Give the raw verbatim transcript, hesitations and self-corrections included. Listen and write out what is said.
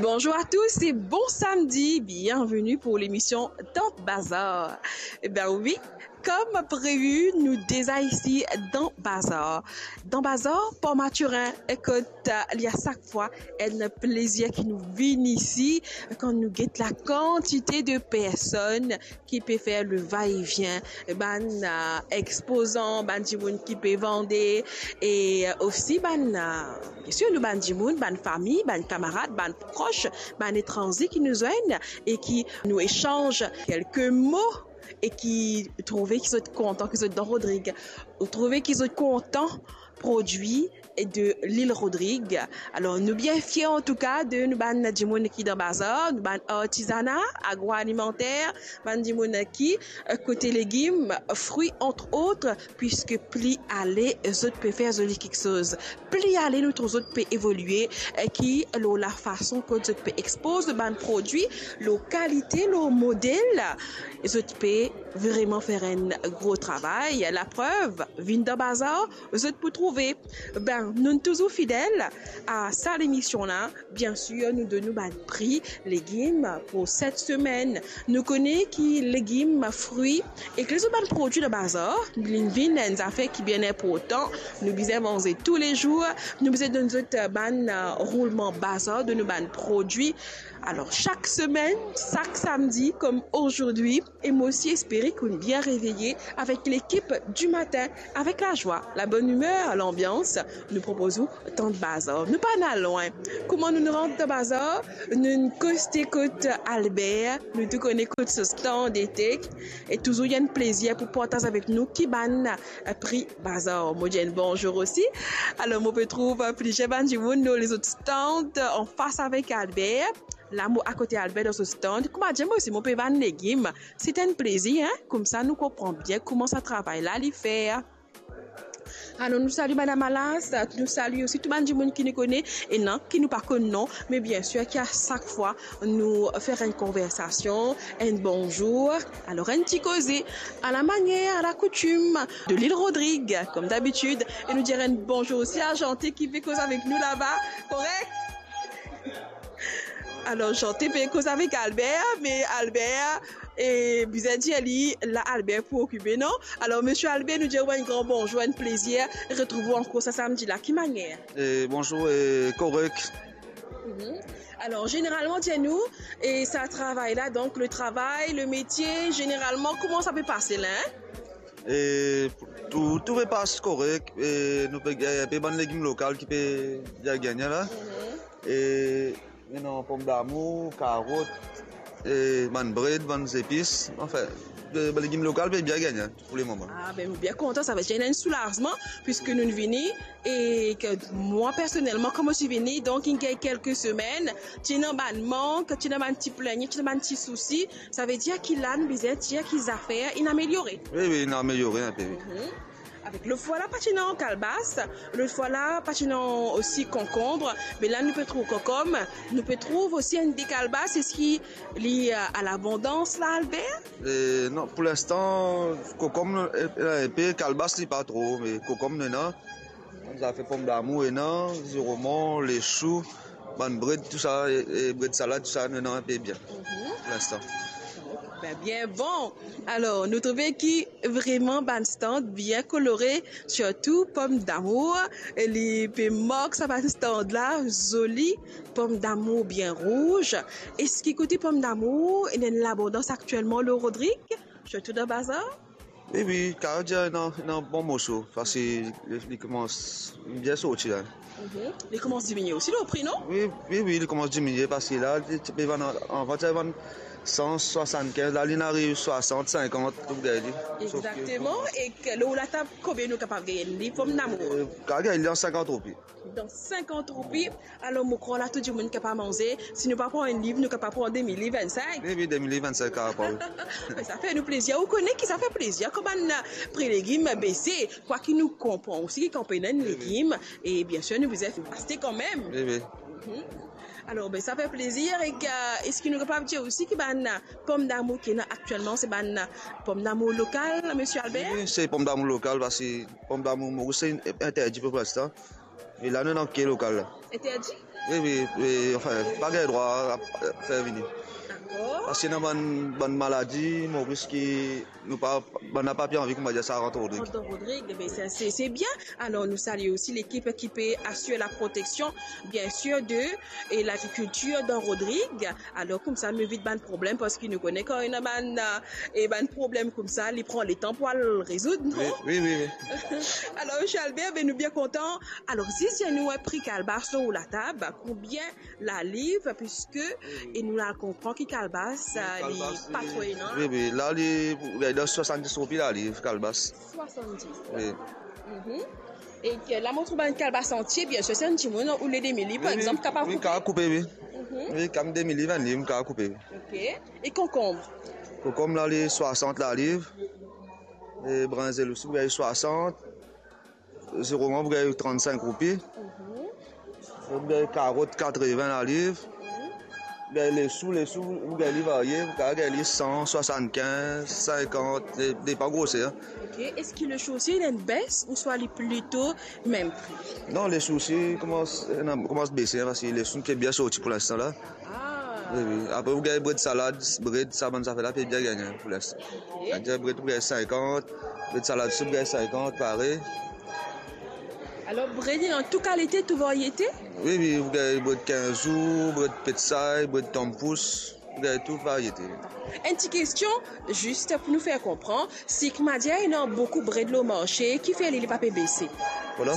Bonjour à tous et bon samedi, bienvenue pour l'émission Tant Bazar. Eh ben oui, comme prévu, nou deza isi dan bazar. Dan bazar, Port Mathurin, kot, euh, li a sak fwa enn plezir ki nou vinn isi, kan nou get la kantite de personn ki pe fer le va-et-vient, bann, euh, expozan, bann dimoun ki pe vande, e, euh, osi bann, euh, bien sûr, nou bann dimoun, bann fami, bann kamarad, bann pros, bann etranze ki nou zwenn e ki nou esanz kelke mo e ki trouve ki zot kontan ki zot dan Rodrig, ou trouve ki zot kontan prodwi de lil Rodrig. Alor, nou bien fier antouka de nou bann dimoun ki dan bazar, nou bann artizana agroalimenter, bann dimoun ki, euh, kote legim, fri, entre autres, puiske pli ale zot pe fer zoli kiksoz, pli ale nou trouv zot pe evolie, euh, ki lor lafason kot zot pe expoz bann prodwi, lor kalite, lor model, zot pe vreman fer enn gro travay. Laprev, vinn dan bazar, zot pou trouve. Ben, nou touzour fidel a sa lemision la. Bien sûr, nou donn nou bann pri legim pou set semenn. Nou kone ki legim, fri ek lezot bann prodwi dan bazar, li vinn enn zafer ki bien inportan. Nou bizin manze toulezour, nou bizin donn zot, euh, bann, euh, roulman bazar de nou bann prodwi. Alor, sak semenn, sak samdi, kom azordi, e mo osi espere ki ou bien reveye avek lekip du matin, avek lazwa, labonimer, lanbians. Nou propoz ou Tant Bazar. Nou pa al lwin. Kouma nou rant dan bazar, nou koste kot Albert, nou tou kone kot so stand etek, e touzour enn plezir pou partaz avek nou ki bann, euh, pri bazar. Mo dir enn bonzour osi. Alor, mo pe trouv, euh, plizier bann dimoun lor lezot stand, euh, anfas avek Albert. La, mo akote Albert dan so stand. Kouma dir, mo osi, mo pe vann legim. Se enn plezir, hein? Koumsa, nou konpran bien kouma sa travay la, li fer. Alor, nou sali Madam Alas, nou sali osi tou bann dimoun ki nou kone, ena ki nou pa konn non, me bien sûr ki a sak fwa nou fer enn konversasion, enn bonzour, alor enn ti koze, a la manière, à la coutume de l'île Rodrigue, comme d'habitude, e nou dir enn bonzour osi a Janté ki pe koz avek nou laba, korek? Alor, Janté pe koz avek Albert, me Albert, e bizin dir li, la Albert pou okipe, non? Alor, Monsieur Albert, nou dir ou enn gran bonzour, enn plezir retrouv ou ankor sa samdi la. Ki manière? E, bonzour, e, korek. Mhm. Alor, zeneralman, dir nou, e sa travay la, donk, le travay, le metie, zeneralman, kouma sa pe pase la, hein? E tou, tou pe pas korek, e nou pe gagn enpe bann legim lokal ki pe gagn la. Mhm. E ena pomdamour, karot, e bann bred, bann zepis, anfin, e, bann legim lokal pe bien gagn pou le moman. Ah, ben, nou bien kontan, sa ve dir ena enn soulazman, puiske nou vini, e ke mwa personelman, kan mo ti vini, donk, inn gagn kelke semenn, ti ena bann mank, ti ena bann ti plengne, ti ena bann ti sousi, sa ve dir ki la, nou bizin dir ki zafer inn ameliore. Wi, wi, inn ameliore enpe, wi. Mhm. Avek lot fwa la, pa ti ena kalbas, lot fwa la, pa ti ena osi konkonb, me la, nou pe trouv konkonb, nou pe trouv osi enn de kalbas, eski li, euh, a labondans la, Albert? E, non, pou linstan, konkonb, e, e, enpe, kalbas, li pa tro, me konkonb, nou ena. Zafer pomdamour, ena, ziroman, lesou, bann bred, tou sa, e, e bred salad, tou sa, nou ena enpe bien, pou linstan. Be, bien bon. Alor, nou trouve ki vreman bann stand bien kolore, sirtou pomdamour. Li pe mark sa bann stand la, zoli, pomdamour bien rouz. Eski kote pomdamour, ena enn labondans aktielman lor Rodrig, sirtou dan bazar? Wi, wi, kapav dir ena, ena bon morso, paski li, li koumans bien sorti la. Mhm. Li koumans diminie osi lor pri, non? Wi, wi, wi, li koumans diminie, paski la, li ti pe vann, avan ti vann san swasannkinz, la, li ariv swasant, sinkant, tou gagn li. Exakteman, e ke lor latab, konbien nou kapav gagn li, pomdamour? E, kapav gagn li dan sinkant roupi. Dan sinkant roupi. Alor, mo krwar la, tou dimoun kapav manze. Si nou pa pran enn liv, nou kapav pran demi liv, vennsink. Wi, wi, demi liv, vennsink, kapav pran, wi. Me sa fer nou plezir. Ou kone ki sa fer plezir, kan bann pri legim bese, kwaki nou konpran osi ki kan pena enn legim, e bien sir, nou bizin aste kanmem. Wi, wi. Mhm. Alor, be, sa fer plezir. E, euh, eski nou kapav dir osi ki bann pomdamour ki ena aktielman, se bann pomdamour lokal, Monsieur Albert? Wi, wi, se pomdamour lokal, paski pomdamour Moris, se interdi pou linstan. E la nou ena ke lokal la. Interdi? Wi, wi, wi, anfin, pa gagn drwa a, a fer vini. Dakor. Parski ena bann, bann maladi, Moris ki nou pa, bann la pa pe anvi, kouma dir sa, rant Rodrig. Rant dan Rodrig, ben, se, se, se bien. Alor, nou salie osi lekip ki pe asir la proteksion, bien sir, de, e lagrikiltir dan Rodrig. Alor, koumsa, nou evit bann problem, parski nou kone kan ena bann, eh, e bann problem koumsa, li pran letan pou al rezoud, non? Wi, wi, wi, wi. Alor, Misie Albert, ben, nou bien kontan. Alor, zis dir nou, eh, pri kalbas lor latab, konbien laliv, piski, e nou la konpran ki kalbas, wi, eh, li kalbas, pa li tro ena. Wi, wi, la, li, li dan swasanndis roupi laliv, kalbas. Swasanndis. Wi. Mhm. E ke la, mo trouv bann kalbas antie, bien sir, si enn dimoun oule demi liv, par, wi, wi, exanp, kapav, wi, koupe. Kapav koupe, wi. Mhm. Wi, kan demi liv, enn liv, kapav koupe, wi. Ok. E konkonb? Konkonb la, li swasant laliv. E brinzel osi, pou gagn swasant. Ziroman, pou gagn trannsink roupi. Mhm. Pou gagn karot, katrevin laliv. Mhm. Gagn lesou, lesou, pou gagn li varie, pou gagn li san, swasannkinz, sinkant, de-, depan groser, en. Ok, eski lesou osi ena enn bes ouswa li plito mem pri? Non, lesou osi koumans, ena, koumans bese, en, parski lesou pe bien sorti pou linstan la. Ah. Wi, wi. Apre, ou gagn bred salad, bred, sa bann zafer la, pe bien gagne pou linstan. Ok. Savedir bred, ou gagn sinkant, bred salad, si ou gagn sinkant, parey. Alor, bred, ena tou kalite, tou variete? Wi, wi, ou gagn bred kinz zour, bred petsay, bred tanmpous, ou gagn tou variete. Enn ti kestion, zis pou nou fer konpran, si kouma dir ena boukou bred lor marse, kifer li, li pa pe bese? Voilà,